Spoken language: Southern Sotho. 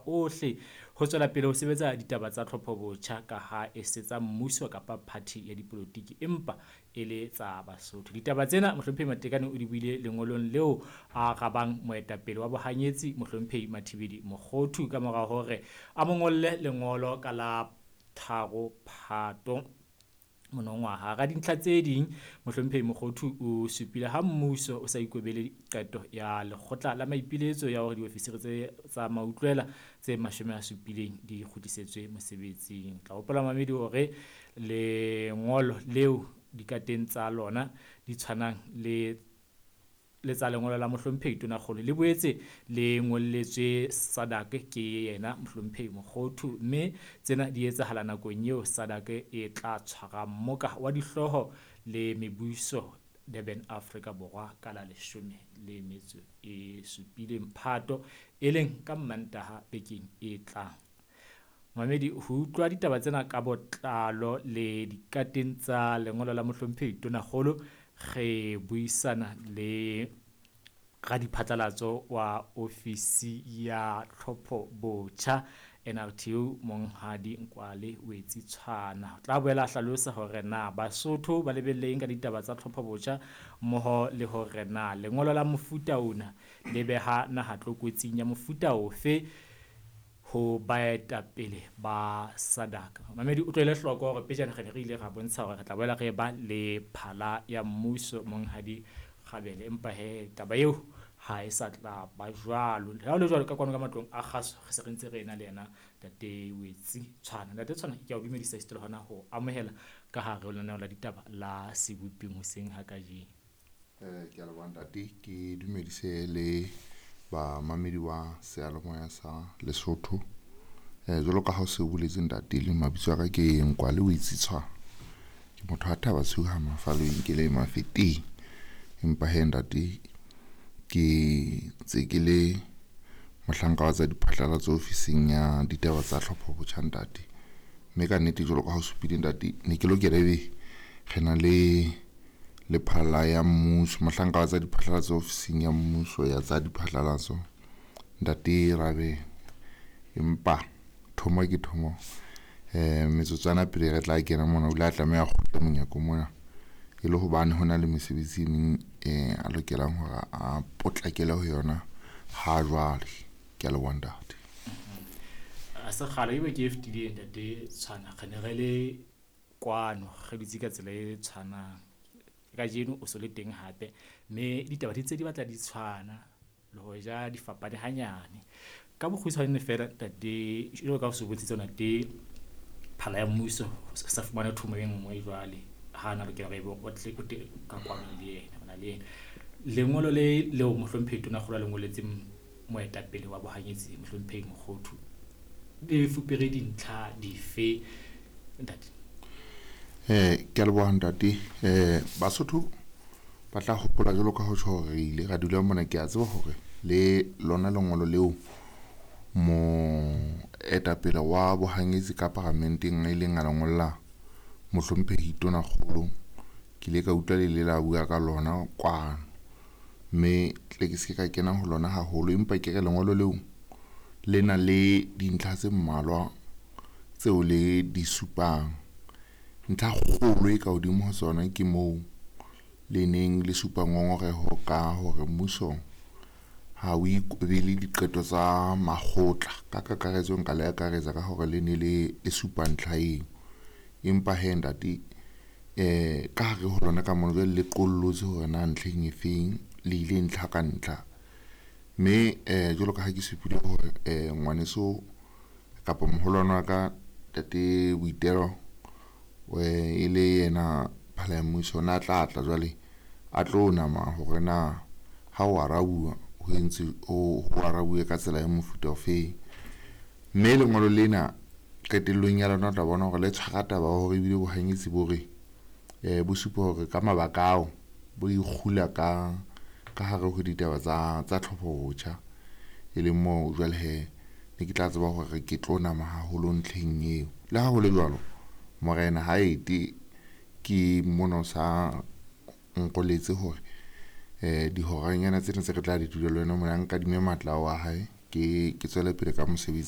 ohle ho tswela pele ho sebetsa ditaba tsa tlhopho botjha ka ha e se tsa mmuso kapa party ya dipolotiki empa e le tsa Basotho. Ditaba tsena Mohlomphehi Matekane o di buile lengolong leo a arabang moetapele wa bohanyetsi Mohlomphehi Mathibeli Mokhothu ka mora hore a mo ngolle lengolo ka la 3 Phato monongwaha. Hara dintlha tse ding, Mohlomphehi Mokhothu o supile ha mmuso o sa ikobele qeto ya lekgotla la maipiletso ya hore diofisiri tse tsa mautlwela tse 70 di kgutlisetswe mosebetsing. Tla hopola mamedi hore lengolo leo dikateng tsa lona di tshwanang le tsa lengolo la Mohlomphehi Tonakgolo le boetse le ngolletswe SADC ke yena Mohlomphehi Mokhothu, mme tsena di etsahala nakong eo SADC e tla tshwara mmoka wa dihlooho le mebuso Durban, Afrika Borwa ka la 17 Phato, e leng ka Mmantaha bekeng e tlang. Mamedi, ho utlwa ditaba tsena ka botlalo le dikateng tsa lengolo la Mohlomphehi Tonakgolo, re buisana le radiphatlalatso wa ofisi ya tlhopho botjha NRTO Monghadi Nkwale Wetsi Tshwana. Tla boela a hlalosa hore na Basotho ba lebelleng ka ditaba tsa tlhopho botjha mmoho le hore na lengolo la mofuta ona le beha naha tlokotsing ya mofuta ofe ho baetapele ba SADC. Mamedi, o tlohele hloko hore pejana re ne re ile ra bontsha hore re tla boela re ba le phala ya mmuso Monghadi Kgabele, empa he taba eo ha e sa tla ba jwalo. Le ha ho le jwalo, ka kwano ka matlong a kgaso re se re ntse re ena le yena Ntate Wetsi Tshwana. Ntate Tshwana, ke a o dumedisa esita le hona ho amohela ka hare ho lenaneo la ditaba la Seboping hoseng ha kajeno. Ke a leboha ntate, ke dumedise le bamamedi wa seyalemoya sa Lesotho. Jwalo ka ha o se o boletse ntate, le mabitso a ka ke Nkwale Wetsi Tshwana. Ke motho a Thaba Tshiu ha Mafaleng, ke le Mafeteng. Empa he ntate, ke ntse ke le mohlanka wa tsa diphatlalatso ofising ya ditaba tsa tlhopho botjha ntate. Mme ka nnete jwalo ka ha o supile ntate, ne ke lokela ebe re na le lephala ya mmuso, mohlanka wa tsa diphatlalatso ofising ya mmuso ya tsa diphatlalatso ntate Rabe. Empa thomo ke thomo, metsotswana pele re tla kena mona o ile a tlameha kgutla monyako mona, e le hobane ho na le mesebetsi e meng a lokelang hore a potlakele ho yona ha jwale. Ke a leboha ntate. A se kgale ebe ke e fetileng ntate Tshwana, re ne re le kwano re dutse ka tsela e tshwanang. Kajeno o so le teng hape, mme ditaba di ntse di batla di tshwana le hoja di fapane hanyane. Ka bokgutshwane feela ntate, jwalo ka o se bontshitse ntate phala ya mmuso sa fumana thomo e nngwe jwale ha na lokela hore ebe o tle o teng ka kwano le yena, ona le yena. Lengolo le leo Mohlomphehi Tonakgolo a le ngolletseng moetapele wa bohanyetsi Mohlomphehi Mokhothu le fupere dintlha dife ntate? Ke a leboha ntate. Basotho ba tla hopola jwalo ka ho tjho hore re ile ra dula mona. Ke a tseba hore le lona lengolo leo moetapele wa bohanyetsi ka paramenteng a ileng a le ngolla Mohlomphehi Tonakgolo, ke ile ka utlwa le ile la bua ka lona kwano, mme tle ke se ka kena ho lona haholo, empa ke re lengolo leo le na le dintlha tse mmalwa tseo le di supang. Ntlha kgolo e ka hodimo ho tsona ke moo le neng le supa ngongoreho ka hore mmuso ha o ikobele diqeto tsa makgotla. Ka kakaretso nka le akaretsa ka hore le ne le supa ntlha eo. Empa he ntate, ka hare ho lona ka mona jwale le qollotse hore na ntlheng e feng, le ile ntlha ka ntlha. Mme jwalo ka ha ke supile hore ngwaneso kapa moholwane wa ka ntate Boitelo e le yena phala ya mmuso, na tla tla jwale a tlo nama hore na ha o arabuwa ho entse ho arabuwe ka tsela ya mofuta ofeng. Mme lengolo lena qetellong ya lona o tla bona hore le tshwara taba hore ebile bohanyetsi bo re bo supa hore ka mabaka ao bo ikgula ka hare ho ditaba tsa tlhopho botjha, e leng moo jwale he ne ke tla tseba hore ke tlo nama haholo ntlheng eo. Le ha ho le jwalo, morena ha ete ke mona o sa nkoletse hore dihoranyana tsena tse re tla di dula le wena mona, nkadime matla ao a hae ke tswele pele ka mosebetsi.